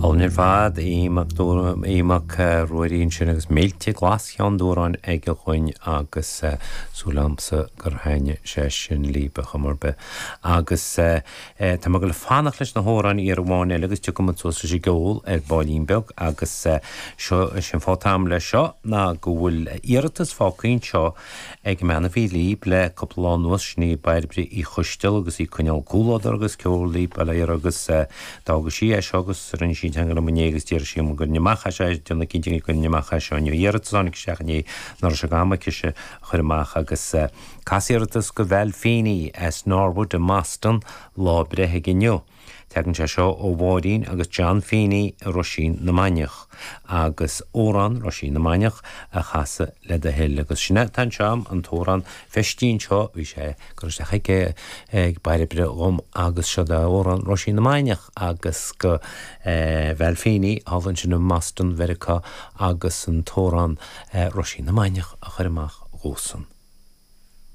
Álainn ar fad, Aodh Mac Aodh Mac Ruairí ansin agus Mílte Glas Cheann Dúráin aige dhuinn agus súil agamsa gur thaitnigh sé sin libh ar chuma ar bith. Agus tá mé ag dul fanacht leis na hamhráin iarraidh amháin eile agus tiocfaidh muid suas leis an gceol ar baillín beag agus seo, is é an fáth atá agam leis seo ná go bhfuil iarratas fágtha anseo Ag an mbean a bhí líb le cúpla lá anuas, sin í Bairbre Uí Choisteal agus í ag coinneáil comhluadar agus ceol líb bail ó Dhia uirthi agus d'fhága sí é seo agus rinne sí teagmháil liom inné agus d'iarr sí orm an gcuirfinn amach é seo, déanamh cinnte go gcuirfinn amach é seo inniu. Iarratas a tháinig isteach inné nach raibh sé d'am aicise a chur amach agus cas iarratas go Val Feeney as Norwood i mBoston lá a breithe aige inniu. Tagann sé seo ó Mháirín agus John Feeney i Roisín na Mainiach agus amhrán Roisín na Mainiach a chasadh le do thoil. Agus sin é atá anseo agam, an t-amhrán feistí anseo, bhí sé curtha isteach ag ag Bairbre dhom agus seo é amhrán Roisín na Mainiach agus go Val Feeney thall ansin i mBoston Mheiriceá agus an t-amhrán Roisín na Mainiach a chur amach dhósan.